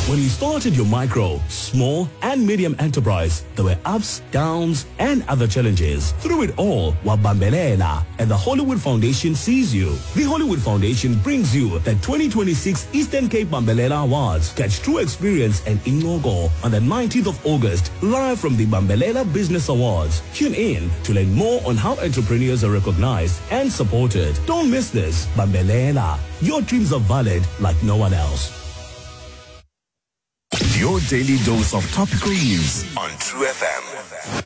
When you started your micro, small, and medium enterprise, there were ups, downs, and other challenges. Through it all, Wabambelela and the Hollywood Foundation sees you. The Hollywood Foundation brings you the 2026 Eastern Cape Bambelela Awards. Catch true experience and Ingogo on the 19th of August, live from the Bambelela Business Awards. Tune in to learn more on how entrepreneurs are recognized and supported. Don't miss this. Bambelela. Your dreams are valid like no one else. Your daily dose of topical news on True FM.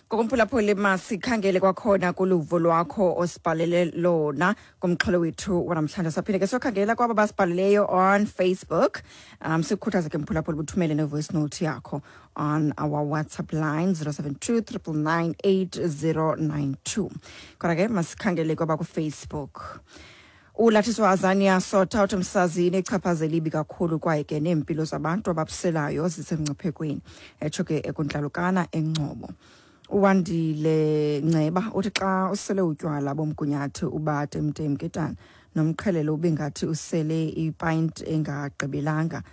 Ngokomphulaphuli, masikhangele kwakhona kuluvo lwakho osibhalele lona kumxholo wethu wanamhlanje. Saphinde ke sokhangela kwaba basibhaleleyo on Facebook. Sikhuthaze ke, mphulaphuli, buthumele ne-voice note yakho on our WhatsApp line 072 999 8092. Kodwa ke masikhangele kwaba kuFacebook. Ulathiswa Azania Sotha uthi msazini ichaphazela ibi kakhulu, kwaye ke neempilo zabantu ababuselayo zisemngciphekweni, etsho ke ekuntlalukana eNgcobo. Uwandile Nceba uthi xa usele utywala bomgunyathi uba temtem ketana nomqhelelo, ube ngathi usele ipint engagqibelanga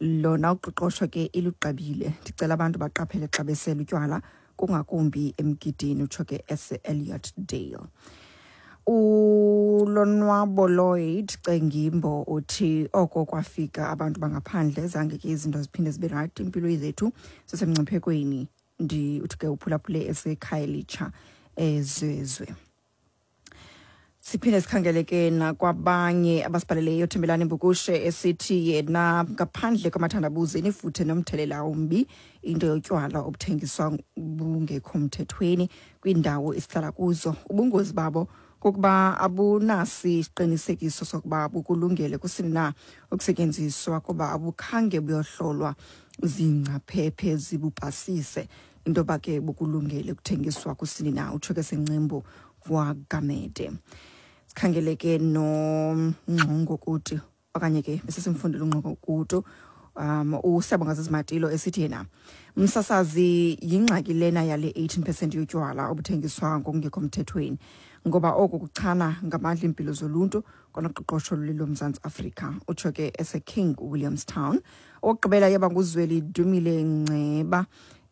lona, uqoqosho ke ilugqabile. Ndicela abantu baqaphele xa besela utywala, kungakumbi emgidini, utsho ke ese-Elliot Dale. Ulonwabo Lloyd Cengimbo uthi oko kwafika abantu bangaphandle, zange ke izinto ziphinde zibe right, impilo zethu zisemngciphekweni. Ndi uthi ke uphulaphule eseKhayelitsha eZwezwe. Siphinde sikhangele ke nakwabanye abasibhaleleyo. Thembelani Mbukushe esithi yena ngaphandle kwamathandabuzo inefuthe nomthelela ombi into yotywala obuthengiswa bungekho mthethweni kwiindawo esihlala kuzo. Ubungozi babo kukuba abunasi isiqinisekiso sokuba bukulungele kusini na ukusetyenziswa, kuba abukhange buyohlolwa zingcaphephe zibupasise into yoba ke bukulungele ukuthengiswa kusini na, utsho ke seNcembu kwaGamede. Sikhangele ke noNgxongo kuti, okanye ke besesimfundile uNgxongo kutu. Usiyabonga Zizimatilo esithi yena, msasazi, yingxaki lena yale 18% yotywala obuthengiswa ngokungekho mthethweni, ngoba oku kuchana ngamandla iimpilo zoluntu kwanoqoqosho loMzantsi Afrika, utsho ke eseKing Williamstown. Okugqibela yaba nguZweli Dumile Nceba.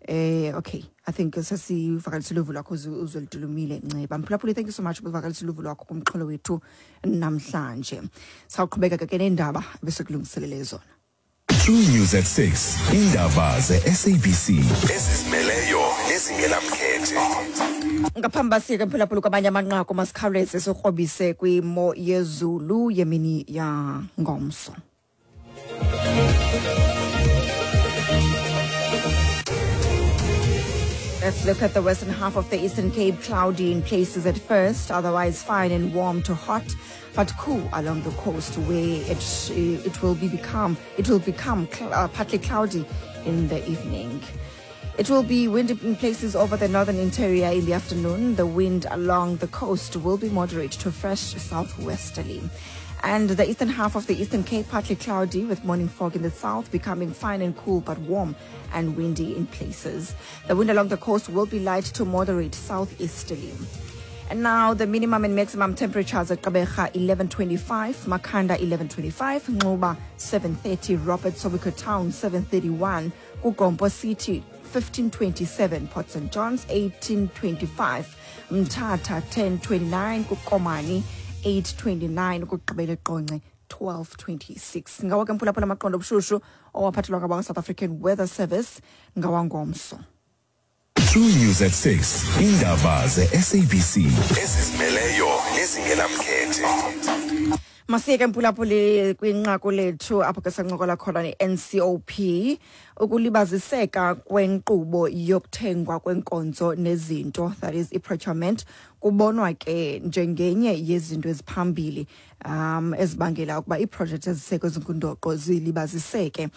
Okay, I think sesivakalisa uluvo lwakho, uZweli Dumile Nceba. Mphulaphuli, thank you so much ubuvakalisa uluvo lwakho kumxholo wethu namhlanje. Sawuqhubeka ke neendaba besekulungiselele zona. True News at 6. Indaba ze-SABC ezizimeleyo nezingenamkhethe. Ngaphambi basike, mphulaphula, kwamanye amanqaku, masikhawuleze sikrobise kwimo yezulu yemini yangomso. Let's look at the western half of the Eastern Cape. Cloudy in places at first, otherwise fine and warm to hot, but cool along the coast, where it will become partly cloudy in the evening. It will be windy in places over the northern interior in the afternoon. The wind along the coast will be moderate to fresh southwesterly. And the eastern half of the Eastern Cape, partly cloudy with morning fog in the south, becoming fine and cool but warm and windy in places. The wind along the coast will be light to moderate southeasterly. And now the minimum and maximum temperatures at Gqeberha 1125, Makhanda 1125, Nxuba 730, Robert Sobukwe Town 731, KuGompo City 1527, Port St. John's 1825, Mthatha 1029, kuKomani 829, ukugqibela eQonce 1226. Ngawo ke, mphulaphula, amaqondo obushushu owaphathelwa ngabakwa South African Weather Service ngawangomso. True News at 6. Indaba ze-SABC ezizimeleyo nezingenamkhethe. Masiyeke, mphulaphuli, kwinqaku lethu apho ke sancokola khona ne-NCOP. Ukulibaziseka kwenkqubo yokuthengwa kwenkonzo nezinto, that is i-procurement, kubonwa ke njengenye yezinto eziphambili ezibangela ukuba iiprojekthi eziseko ezingundoqo zilibaziseke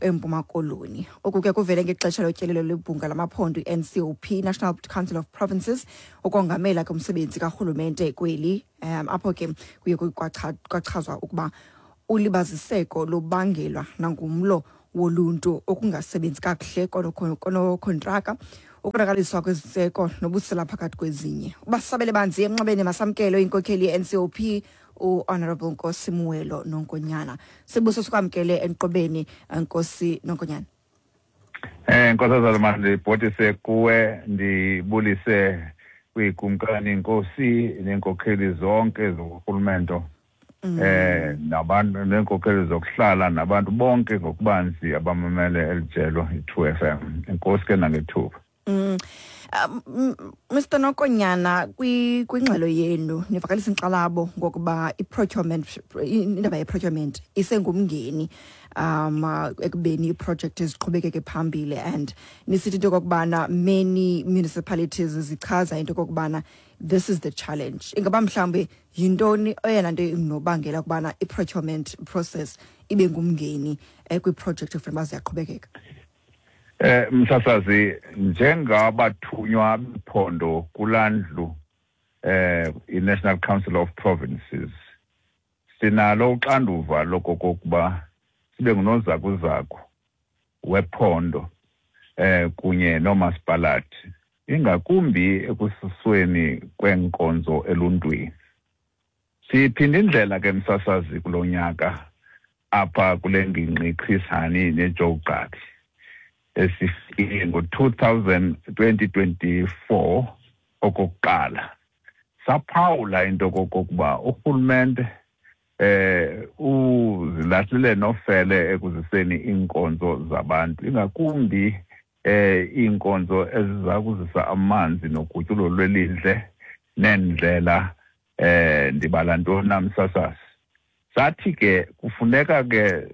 eMpuma Koloni. Oku ke kuvele ngexesha lotyelelo lwebhunga lamaphondo i-NCOP, National Council of Provinces, ukongamela ke umsebenzi karhulumente kweli, apho ke kuye kwachazwa ukuba ulibaziseko lubangelwa nangumlo woluntu, okungasebenzi kakuhle konokontraka, ukonakaliswa kweziseko nobusela, phakathi kwezinye. Ubasabele banzi emnxebeni, masamkelo inkokheli ye-NCOP, uHonorable Nkosi Muelo Nonkonyana. Sibuso sikwamkele enqobeni, Nkosi Nonkonyana. Nkosazana, mandibhotise kuwe, ndibulise kwikumkani, inkosi neenkokheli zonke zokurhulumento nabantu neenkokheli zokuhlala nabantu bonke ngokubanzi abamamele elijelo i-2 FM. Enkosi ke nangethuba. Mr Nonkonyana, kwingxelo yenu nivakalisa inkxalabo ngokuba i-procurement, indaba ye-procurement isengumngeni ekubeni i-project ziqhubekeke phambili, and nisithi into yokokubana many municipalities zichaza into yokokubana this is the challenge. Ingaba mhlawumbi yintoni eyona nto inobangela ukubana i-procurement process ibe ngumngeni kwi-project ekufuneka uba ziyaqhubekeka? Msasazi, njengabathunywa bephondo kulandlu i-National Council of Provinces, sinalo uxanduva lokokuba sibe ngunozakuzaku wephondo kunye noomasipalathi, ingakumbi ekususweni kweenkonzo eluntwini. Siphinda indlela ke, msasazi, kulo nyaka apha kule ngingqi Chris Hani neJoe Gqabi esifike ngo-2024 okokuqala. Saphawula into kokokuba urhulumente uzilahlile nofele ekuziseni iinkonzo zabantu, ingakumbi iinkonzo eziza kuzisa amanzi nogutyulo lwelindle neendlela. Ndibala ntoni na, msasazi? Sathi ke kufuneka ke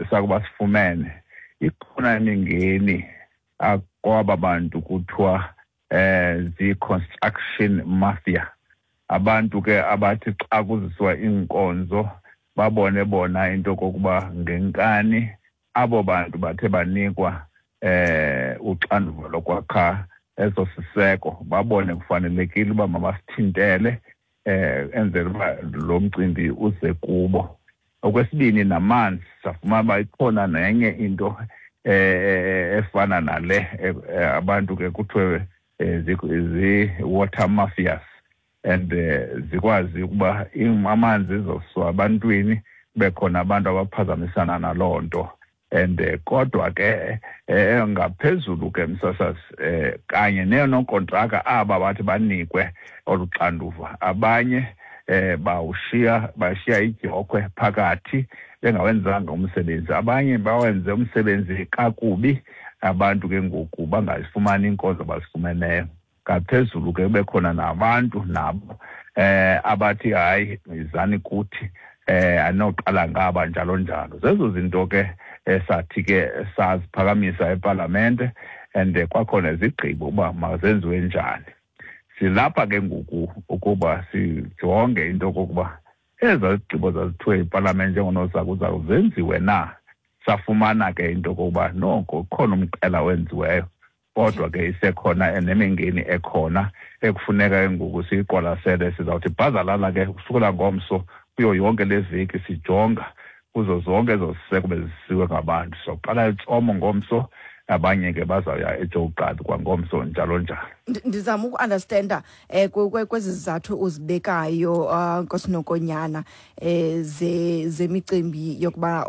sakuba sifumene ikhona imingeni akwaba bantu kuthiwa zii-construction mafia, abantu ke abathi xa kuziswa iinkonzo babone bona into kokuba ngenkani abo bantu bathe banikwa uxanduva lokwakha eso siseko, babone kufanelekile uba mabasithintele enzele uba lo mcimbi uze kubo. Okwesibini, namanzi, safumana uba ikhona nenye into efana nale, abantu ke kuthiwe zi-water mafias and zikwazi ukuba amanzi izoswa abantwini, kube khona abantu abaphazamisana naloo nto. And kodwa ke ngaphezulu ke, msasazi, kanye neenonkontraka aba bathi banikwe olu xanduva, abanye bawushiya, bashiya idyokhwe phakathi bengawenzanga umsebenzi, abanye bawenze umsebenzi kakubi, abantu ke ngoku bangazifumani iinkonzo abazifumeneyo. Ngaphezulu ke kube khona nabantu nabo abathi hayi, izani kuthi, anoqala ngaba, njalo njalo. Zezo zinto ke esathi ke saziphakamisa epalamente and kwakhona izigqibo uba mazenziwe njani. Silapha ke ngoku ukuba sijonge into okokuba ezaa zigqibo zazithiwe ipalamente njengonozakuzaku zenziwe na. Safumana ke into okokuba noko khona umqela wenziweyo, kodwa ke isekhona nemingeni ekhona ekufuneka ke ngoku siyiqwalasele. Sizawuthi bhazalala ke kusukela ngomso kuyo yonke le veki, sijonga kuzo zonke ezo ziseko bezisiwe ngabantu. Sizoqala eTsomo ngomso, abanye ke bazawuya eJoe Gqabi kwangomso, njalo njalo. Ndizama uku-understanda kwezi zizathu uzibekayo, Nkosi Nonkonyana, zemicimbi yokuba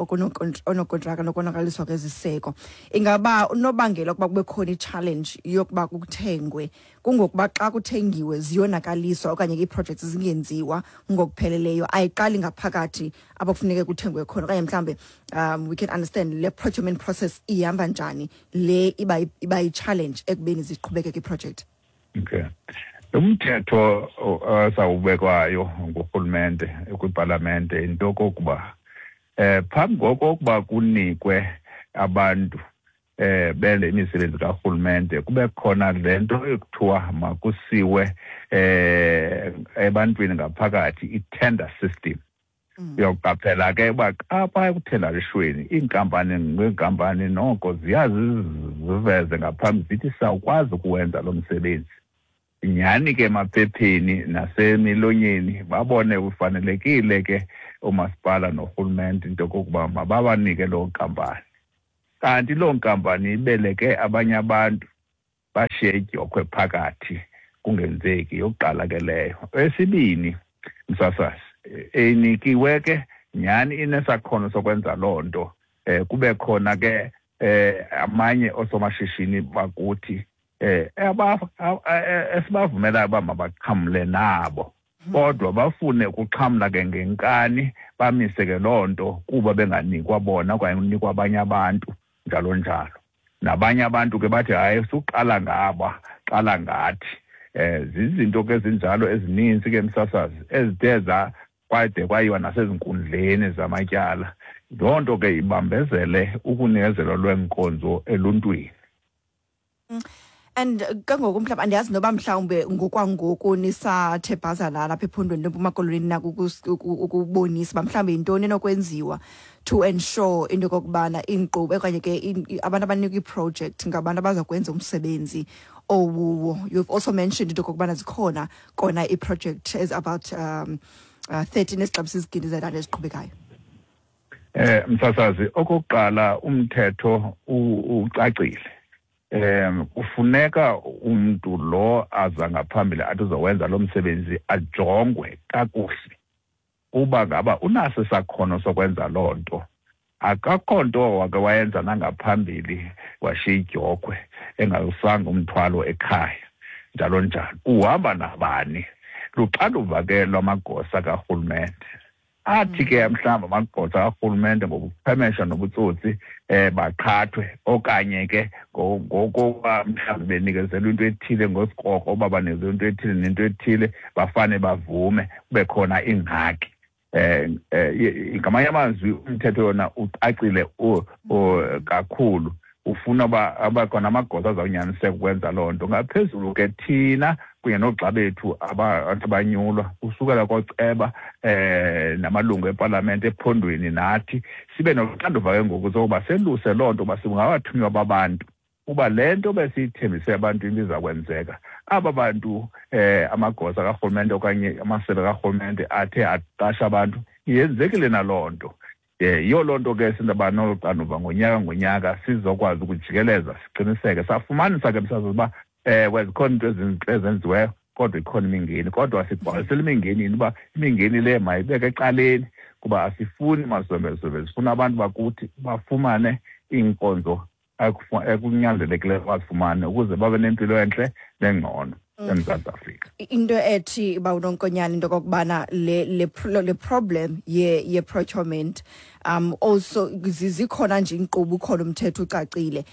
onokontraka nokonakaliswa kweziseko. Ingaba unobangela ukuba kube khona i-challenge yokuba kuthengwe kungokuba xa kuthengiwe ziyonakaliswa okanye ii-projects zingenziwa ngokupheleleyo, ayiqali ngaphakathi apho kufuneke kuthengwe khona, okanye mhlawumbe we can understand le procurement process ihamba njani, le iba yi-challenge ekubeni ziqhubekeke iproject? Okay, umthetho osawubekwayo ngurhulumente kwipalamente into okokuba phambi kokokuba kunikwe abantu benze imisebenzi karhulumente, kube khona le nto ekuthiwa makusiwe ebantwini ngaphakathi, i-tender system. Uyoqaphela ke uba xa phaya ekuthendarishweni iinkampani ngeenkampani noko ziyaziveze ngaphambi, zithi sawukwazi ukuwenza lo msebenzi. Nyhani ke emaphepheni nasemilonyeni babone kufanelekile ke umasipala norhulumente into yokokuba mababanike loo nkampani, kanti loo nkampani ibeleke abanye abantu, bashiye idyokhwe phakathi, kungenzeki. Yokuqala ke leyo. Esibini, msasazi. Eyinikiwe ke nyhani inesakhono sokwenza loo nto. Kube khona ke amanye oosomashishini bakuthi esibavumelayo uba mabaxhamle nabo, kodwa bafune ukuxhamla ke ngenkani, bamise ke loo nto kuba benganikwa bona okanye unikwa abanye abantu, njalo njalo. Nabanye abantu ke bathi hayi, suqala ngaba, qala ngathi. Zizinto ke ezinjalo ezininzi ke, msasazi, ezithe kwade kwayiwa nasezinkundleni zamatyala. Loo nto ke ibambezele ukunikezelwa lweenkonzo eluntwini. And ke ngoku mhlawumbi andiyazi noba mhlawumbe ngokwangoku nisathe bhazalala lapha ephondweni leMpuma Koloni nako ukubonisa uba mhlawumbi yintoni enokwenziwa to ensure into yokokubana iinkqubo okanye ke abantu abanikwa iiprojekthi ngabantu abaza kwenza umsebenzi owuwo. You've also mentioned into yokokubana zikhona kona iiproject as about 13 ezixabisa izigidi zerandi eziqhubekayo. Msasazi, okokuqala umthetho ucacile. Kufuneka umuntu lo aza ngaphambili athi uzowenza lo msebenzi ajongwe kakuhle uba ngaba unaso isakhono sokwenza loo nto. Akakho nto wake wayenza nangaphambili washiya idyokhwe engawusanga umthwalo ekhaya, njalo njalo. Uhamba nabani? Luxanduva ke lwamagosa karhulumente. Athi ke mhlawumbi amagosa karhulumente ngobuchwemesha nobutsotsi baqhathwe, okanye ke ngokuba mhlawumbi benikezelwa into ethile ngosikrokro, uba banikezelwa into ethile nento ethile, bafane bavume, kube khona ingxaki. Ngamanye amazwi umthetho yona ucacile kakhulu, ufuna uba abakhona amagosa azawunyaniseka ukwenza loo nto. Ngaphezulu ke thina kunye noogxa bethu abantu abanyulwa usukela kooceba namalungu epalamente ephondweni, nathi sibe noxanduva ke ngoku sokuba seluse loo nto uba singabathunywa babantu, uba le nto besiyithembise ebantwini iza kwenzeka. Aba bantu amagosa karhulumente okanye amasebe karhulumente athe aqasha abantu, yenzekile naloo nto. Yiyo loo nto ke singaba nolu xanduva ngonyaka ngonyaka sizokwazi ukujikeleza siqiniseke. Safumanisa ke msasazi uba ewe zikhona iinto ezintle ezenziweyo, kodwa ikhona imingeni. Kodwa sigqwalisela imingeni uba imingeni le mayibeke ecaleni, kuba asifuni mazombezombe, sifuna abantu bakuthi bafumane iinkonzo ekunyanzelekileyo bazifumane ukuze babe nempilo entle nengcono eMzantsi Afrika. Into ethi uba uNonkonyana into okokubana le problem ye procurement, also zikhona nje inkqubo, ukhona umthetho ucacile,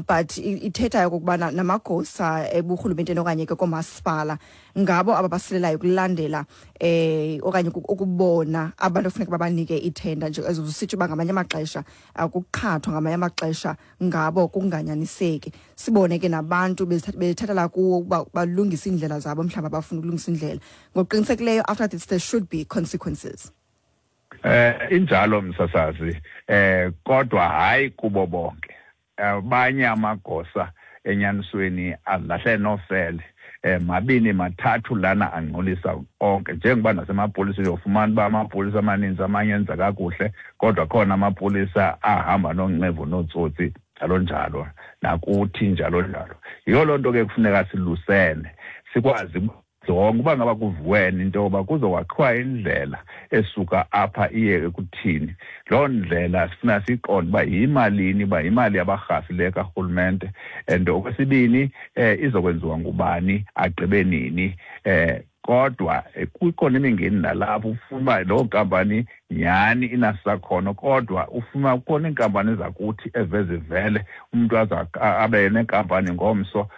but ithetha okokubana namagosa eburhulumenteni okanye ke koomasipala ngabo ababasilelayo ukulandela okanye ukubona abantu ekufuneka babanike ithenda nje, ezusitsho uba ngamanye amaxesha akuqhathwa, ngamanye amaxesha ngabo kunganyaniseki. Sibone ke nabantu bethathela kuwo ukuba balungise iindlela zabo, mhlawumbi abafuna ukulungisa indlela. Ngokuqinisekileyo after this there should be consequences. Injalo msasazi, kodwa hayi kubo bonke. Abanye amagosa enyanisweni alahle nofele. Mabini mathathu lana angcolisa onke, njengoba nasemapoliseni uyofumana uba amapolisa amaninzi amanye enza kakuhle, kodwa khona amapolisa ahamba nonqevu nootsotsi njalo njalo, nakuthi njalo njalo. Yiyo loo nto ke kufuneka silusene, sikwazi jonga uba ngaba kuvuwene into yoba kuzokwakhiwa indlela esuka apha iye ekuthini. Loo ndlela sifuna siyiqonde uba yimalini, uba yimali yabarhafi le karhulumente, and okwesibini izokwenziwa ngubani, agqibe nini. Kodwa kukhona imingeni nalapho, ufuna uba loo nkampani nyhani inasakhono, kodwa ufuna kukhona iinkampani zakuthi evezivele umntu aza abe nenkampani ngomso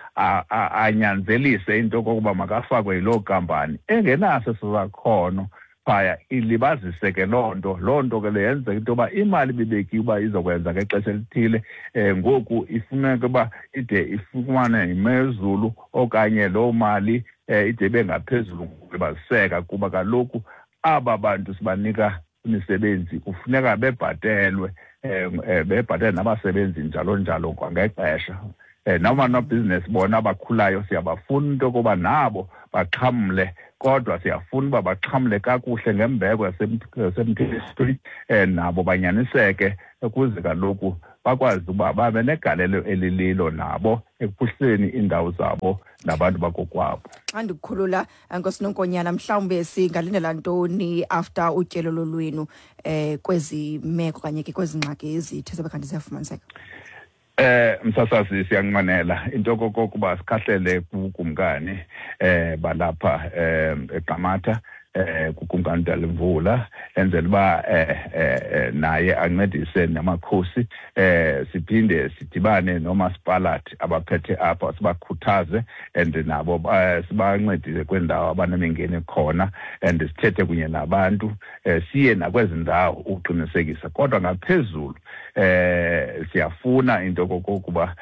anyanzelise into yokokuba makafakwe yiloo nkampani engenaso eso sakhono phaya, ilibazise ke loo nto. Loo nto ke le yenzeka into yoba imali ibibekiwe uba izokwenza ngexesha elithile, ngoku ifuneka uba ide ifumane yimezulu okanye loo mali ide ibe ngaphezulu ngokulibaziseka, kuba kaloku aba bantu sibanika imisebenzi kufuneka bebhatelwe, bebhatele nabasebenzi njalo njalo kwangexesha. Nabanobhizinesi bona abakhulayo siyabafuna into yokuba nabo baxhamle, kodwa siyafuna uba baxhamle kakuhle ngembeko yasemthethweni, nabo banyaniseke ukuze kaloku Bakwazi uba babe negalelo elililo nabo ekuphuhliseni iindawo zabo nabantu bakokwabo. Xa ndikukhulula, Nkosi Nonkonyana, mhlawumbe singalindela ntoni after utyelelo lwenu kwezi meko kanye ke kwezi ngxaki ezithe zabe kanti ziyafumaniseka? Msasazi, siyanqwenela into okokuba sikhahlele kukumkani balapha eQamatha, kukumkani Dalimvula, enzela uba naye ancedise namakhosi, siphinde sidibane nomasipalathi abaphethe apha, sibakhuthaze and nabo sibancedise kwiindawo abanemingeni khona, and sithethe kunye nabantu, siye nakwezi ndawo ukuqinisekisa. Kodwa ngaphezulu siyafuna into okokuba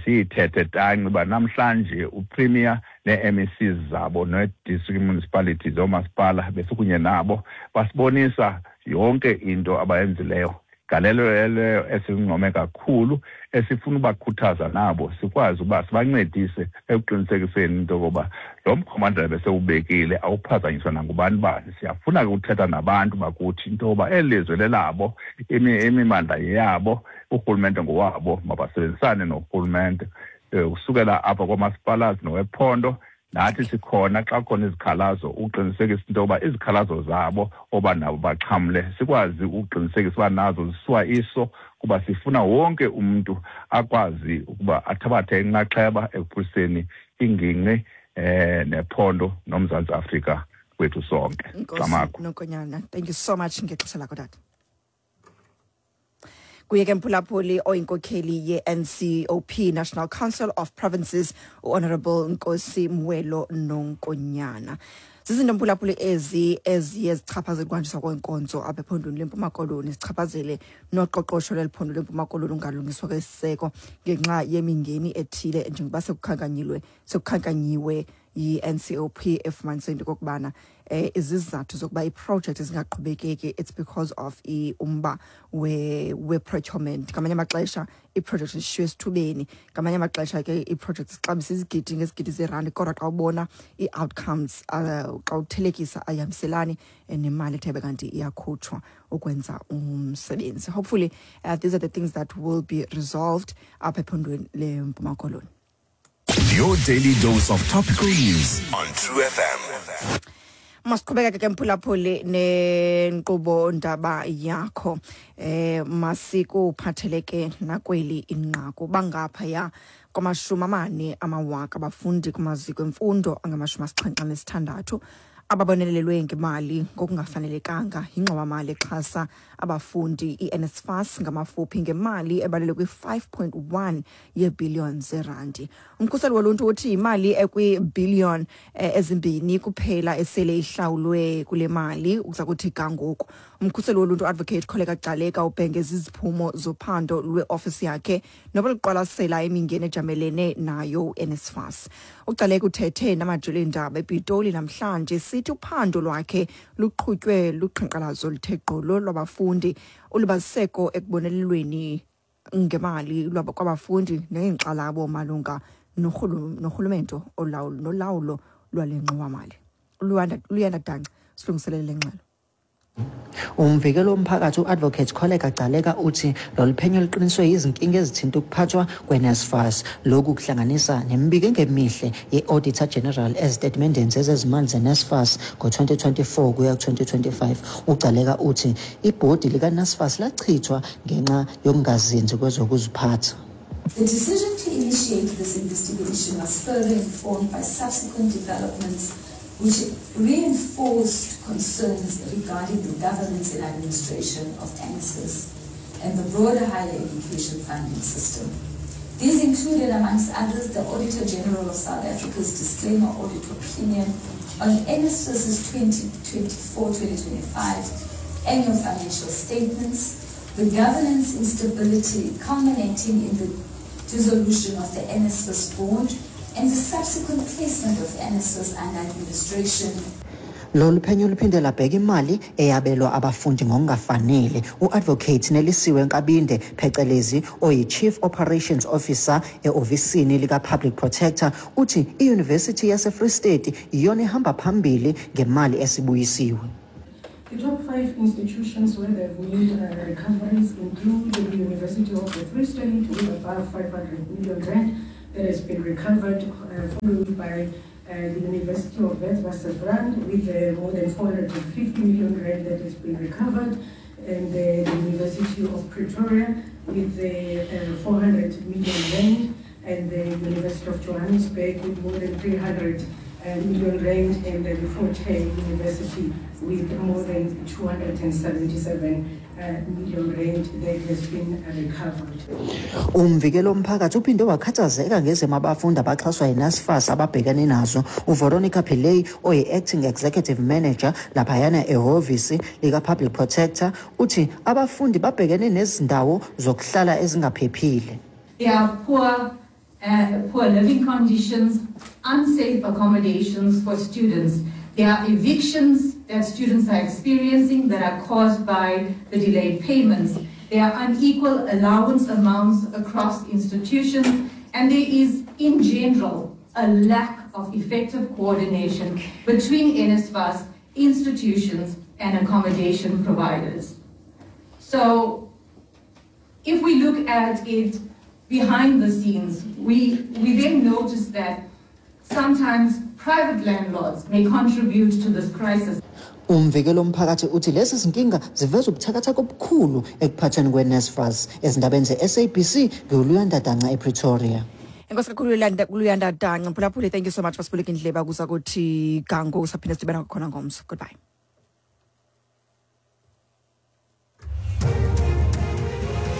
siyithethe tanci uba namhlanje uPremier nee-MECs zabo nee-district municipalities, oomasipala, besikunye nabo, basibonisa yonke into abayenzileyo, galelo leyo esincome kakhulu, esifuna ubakhuthaza nabo, sikwazi uba sibancedise ekuqinisekiseni into yokoba lo mkhombandlela besewubekile awuphazanyiswa nangubani bani. Siyafuna ke ukuthetha nabantu bakuthi into yoba eli lizwe lelabo, imimandla yeyabo, urhulumente ngowabo, mabasebenzisane norhulumente kusukela apha kwamasipalazi nowephondo. Nathi sikhona xa kukhona izikhalazo ukuqinisekisa into yoba izikhalazo zabo oba nabo baxhamle, sikwazi ukuqinisekisa uba nazo zisuwa iso, kuba sifuna wonke umntu akwazi ukuba athabathe inxaxheba ekuphuhliseni ingingqi nephondo noMzantsi Afrika wethu sonke. Nkosi Camagu. Nonkonyana, thank you so much ngexesha lakho, tata. Kuye ke, mphulaphuli, oyinkokheli ye-NCOP, National Council of Provinces, uHonorable Nkosi Mwelo Nonkonyana. Zizinto, mphulaphuli, ezi eziye zichaphazele ukuhanjiswa kweenkonzo apha ephondweni leMpuma Koloni, zichaphazele noqoqosho leli phondo leMpuma Koloni, ungalungiswa kwesiseko ngenxa yemingeni ethile, njengoba sekukhankanyiwe yi-NCOP, efumanise into okokubana izizathu zokuba iprojekthi zingaqhubekeki, it's because of umba we-procurement. Ngamanye amaxesha iiprojekthi zishiywe esithubeni, ngamanye amaxesha ke iiprojekthi zixabisa izigidi ngezigidi zeerandi, kodwa xa ubona ii-outcomes, xa uthelekisa, ayihambiselani nemali ethe kanti iyakhutshwa ukwenza umsebenzi. Hopefully these are the things that will be resolved apha ephondweni leMpuma Koloni. Your daily dose of topical news on True FM. Masiqhubekeke ke, mphulaphuli, nenkqubo ndaba yakho. Masikuphatheleke nakweli inqaku. Bangaphaya kwama-40 amawaka abafundi kumaziko emfundo angama-76 ababonelelwe ngemali ngokungafanelekanga yingxowamali exhasa abafundi, i-NSFAS ngamafuphi, ngemali ebalelwe kwi-5.1 yeebhiliyoni zerandi. Umkhuseli woluntu uthi imali ekwiibhiliyoni 2 kuphela esele ihlawulwe kule mali ukuza kuthi ga ngoku. Umkhuseli woluntu, Advocate Kholeka Gcaleka, ubhengeza iziphumo zophando lweofisi yakhe nobeluqwalasela imingeni ejamelene nayo uNSFAS. UGcaleka uthethe namajelo eendaba ePitoli namhlanje, sithi uphando lwakhe luqhutywe luqhankqalazo oluthe gqolo lwabafundi, ulibaziseko ekubonelelweni ngemali kwabafundi neenkxalabo malunga norhulumento olawulo nolawulo lwale ngxowamali. Luyanda Danca silungiselele le ngxelo. Umvikeli womphakathi u-Advocate Kholeka Gcaleka uthi lolu phenyo luqiniswe yizinkinga ezithinta ukuphathwa kwe-NSFAS. Lokhu kuhlanganisa nemibiko engemihle ye-Auditor General ezitatimendeni zezezimali ze-NSFAS ngo-2024 kuya ku-2025. UGcaleka uthi ibhodi lika-NSFAS lachithwa ngenxa yokungazinzi kwezokuziphatha. The decision to initiate this investigation was further informed by subsequent developments which reinforced concerns regarding the governance and administration of NSFAS and the broader higher education funding system. These included, amongst others, the Auditor General of South Africa's disclaimer audit opinion on NSFAS's 2024-2025 annual financial statements, the governance instability culminating in the dissolution of the NSFAS board, and the subsequent placement of NSFAS under administration. Lolu phenyo luphinde labheka imali eyabelwa abafundi ngokungafanele. U-Advocate Nelisiwe Nkabinde, phecelezi oyi-Chief Operations Officer e-ofisini lika-Public Protector, uthi iYunivesithi yaseFree State iyona ehamba phambili ngemali esibuyisiwe. The top five institutions where they've made recoveries include the University of the Free State with above 500 million rand that has been recovered, followed by the University of Witwatersrand with more than 450 million rand that has been recovered, and the University of Pretoria with 400 million rand, and the University of Johannesburg with more than 300 million rand, and the Fort Hare University with more than 277 million rand that has been recovered. Umvikeli womphakathi uphinde wakhathazeka ngezimo abafundi abaxhaswa yiNSFAS ababhekene nazo. UVeronica Pillay, oyi-acting executive manager laphayana ehhovisi lika-Public Protector, uthi abafundi babhekene nezindawo zokuhlala ezingaphephile. There are poor living conditions, unsafe accommodations for students. There are evictions that students are experiencing that are caused by the delayed payments. There are unequal allowance amounts across institutions, and there is, in general, a lack of effective coordination between NSFAS institutions and accommodation providers. So, if we look at it behind the scenes, we then notice that sometimes private landlords may contribute to this crisis. Umvikeli womphakathi uthi lezi zinkinga ziveza ubuthakathaka obukhulu ekuphathweni kwe-NSFAS. Ezindabeni ze-SABC, ngiwuLuyanda Danca ePretoria. Enkosi kakhulu Luyanda Danca. Mphulaphuli, thank you so much basibuleka indleba kuza kuthi gango saphinde sidibana kwakhona ngomso. Goodbye.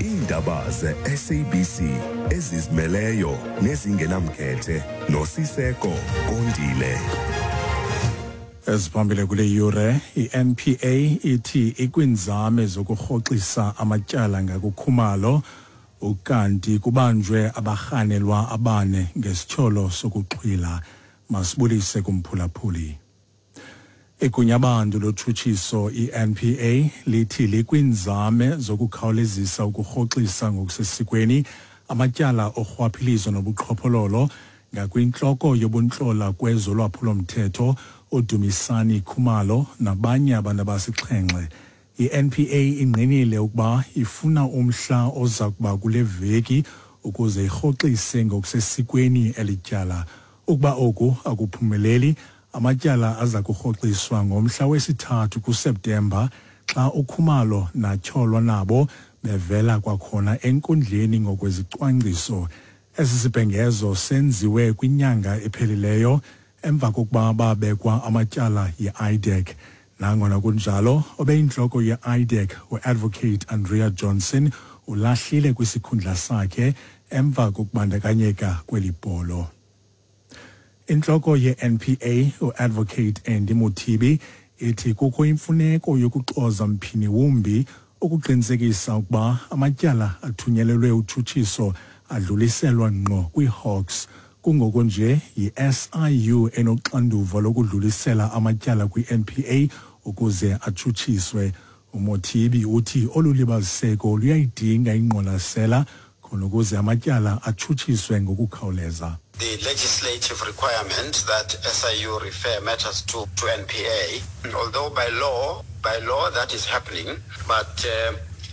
Iindaba ze-SABC ezizimeleyo nezingenamkhethe noSiseko Kondile. Eziphambili kule yure: i-NPA ithi ikwinzame zokurhoxisa amatyala ngakuKhumalo, ukanti kubanjwe abarhanelwa abane ngesityholo sokuxhwila. Masibulise kumphulaphuli. Igunyabantu lotshutshiso i-NPA lithi likwinzame zokukhawulezisa ukurhoxisa ngokusesikweni amatyala orhwaphilizo nobuqhophololo ngakwintloko yobuntlola kwezolwaphulomthetho uDumisani Khumalo nabanye abantu abasixhenxe. I-NPA ingqinile ukuba ifuna umhla oza kuba kule veki ukuze irhoxise ngokusesikweni eli tyala. Ukuba oku akuphumeleli, amatyala aza kurhoxiswa ngomhla wesi-3 kuSeptemba xa uKhumalo natyholwa nabo bevela kwakhona enkundleni ngokwezicwangciso. Esi sibhengezo senziwe kwinyanga ephelileyo emva kokuba babekwa amatyala yi-IDAC. Nangona kunjalo, obeyintloko ye-IDAC uAdvocate Andrea Johnson ulahlile kwisikhundla sakhe emva kokubandakanyeka kweli bholo. Intloko ye-NPA uAdvocate Andy Mothibi ithi kukho imfuneko yokuxoza mphini wumbi ukuqinisekisa ukuba amatyala athunyelelwe utshutshiso adluliselwa ngqo kwi-Hawks. Kungoko nje yi-SIU enoxanduva lokudlulisela amatyala kwi-NPA ukuze atshutshiswe. UMothibi uthi olu libaziseko luyayidinga ingqwalasela khona ukuze amatyala atshutshiswe ngokukhawuleza. The legislative requirement that SIU refer matters to NPA, although by law that is happening, but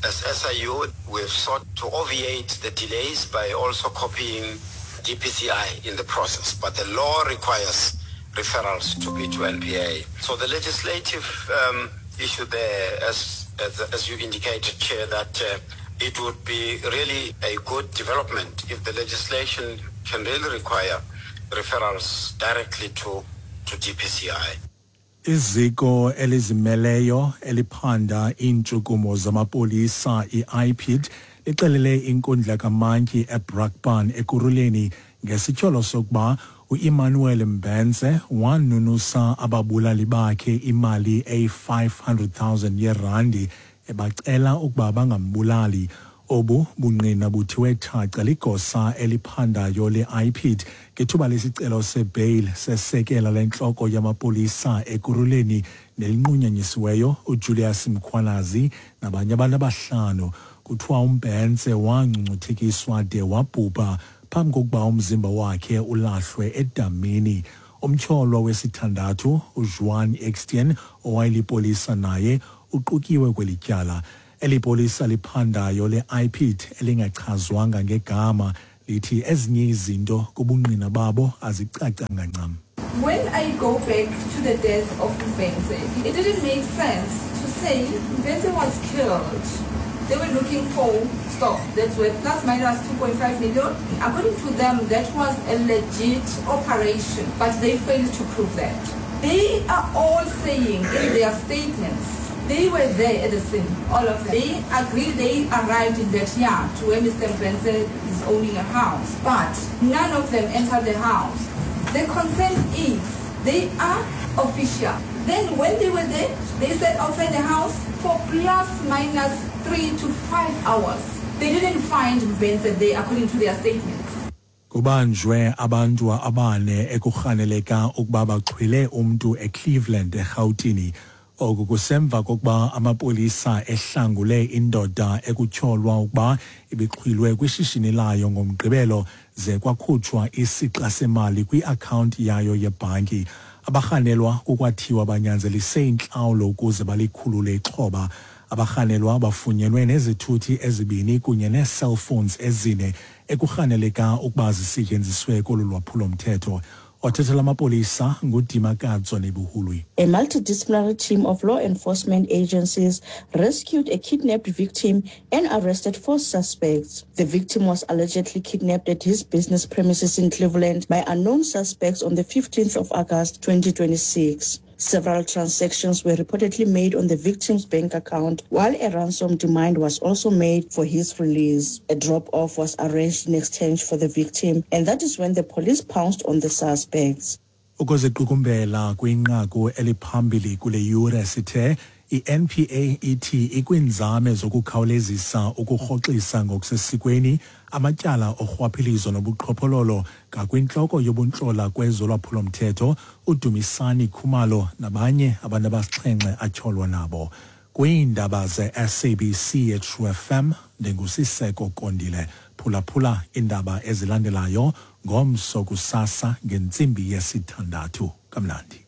as SIU we've sought to obviate the delays by also copying DPCI in the process, but the law requires referrals to be to NPA. So the legislative issue there, as you indicated, Chair, that it would be really a good development if the legislation can really require referrals directly to DPCI. Iziko elizimeleyo eliphanda iintshukumo zamapolisa i-IPID lixelele inkundla kamantyi eBrakpan Ekurhuleni ngesityholo sokuba uEmmanuel Mbense wanunusa ababulali bakhe imali eyi-500,000 yerandi ebacela ukuba bangambulali. Obu bungqina buthiwe thaca ligosa eliphandayo le-IPID ngethuba lesicelo sebail sesekela lentloko yamapolisa Ekurhuleni nelinqunyanyisiweyo uJulius Mkhwanazi nabanye abantu abahlanu. Kuthiwa uMbense wangcungcuthekiswa de wabhubha phambi kokuba umzimba wakhe ulahlwe edamini. Umtyholwa wesithandathu, uJuan Eksteen, owayelipolisa naye uqukiwe kweli tyala. Eli polisa liphandayo le-IPID elingachazwanga ngegama lithi ezinye izinto kubungqina babo azicacanga ncam. When I go back to the death of Mbense, it didn't make sense to say Mbense was killed. They were looking for stock that's worth plus minus 2.5 million. According to them, that was a legit operation, but they failed to prove that. They are all saying in their statements they were there at the scene, all of them. They agree they arrived in that yard where Mr. Mbense is owning a house, but none of them entered the house. The concern is they are official. Then when they were there, they sat outside the house for plus minus 3 to 5 hours. They didn't find Mbense there according to their statements. Kubanjwe abantu abane ekurhaneleka ukuba baxhwile umntu eCleveland eRhawutini. Oku kusemva kokuba amapolisa ehlangule indoda ekutyholwa ukuba ibixhwilwe kwishishini layo ngoMgqibelo ze kwakhutshwa isixa semali kwi-akhawunti yayo yebhanki. Abarhanelwa kukwathiwa banyanzelise intlawulo ukuze balikhulule ixhoba. Abarhanelwa bafunyenwe nezithuthi ezibini kunye nee-cellphones ezine ekurhaneleka ukuba zisetyenziswe kolu lwaphulo-mthetho. Othethela amapolisa nguDimakatso Nebuhului. A multidisciplinary team of law enforcement agencies rescued a kidnapped victim and arrested 4 suspects. The victim was allegedly kidnapped at his business premises in Cleveland by unknown suspects on the 15th of August 2026. Several transactions were reportedly made on the victim's bank account, while a ransom demand was also made for his release. A drop-off was arranged in exchange for the victim, and that is when the police pounced on the suspects. Ukuziqukumbela kwinqaku eliphambili kule yure sithe i-NPA ithi ikwiinzame zokukhawulezisa ukurhoxisa ngokusesikweni amatyala orhwaphilizo nobuqhophololo ngakwintloko yobuntlola kwezolwaphulomthetho uDumisani Khumalo nabanye abantu abasixhenxe atyholwa nabo. Kwiindaba ze-SABC eTrue FM, ndinguSiseko Kondile. Phulaphula iindaba ezilandelayo ngomso kusasa ngentsimbi yesithandathu. Kamnandi.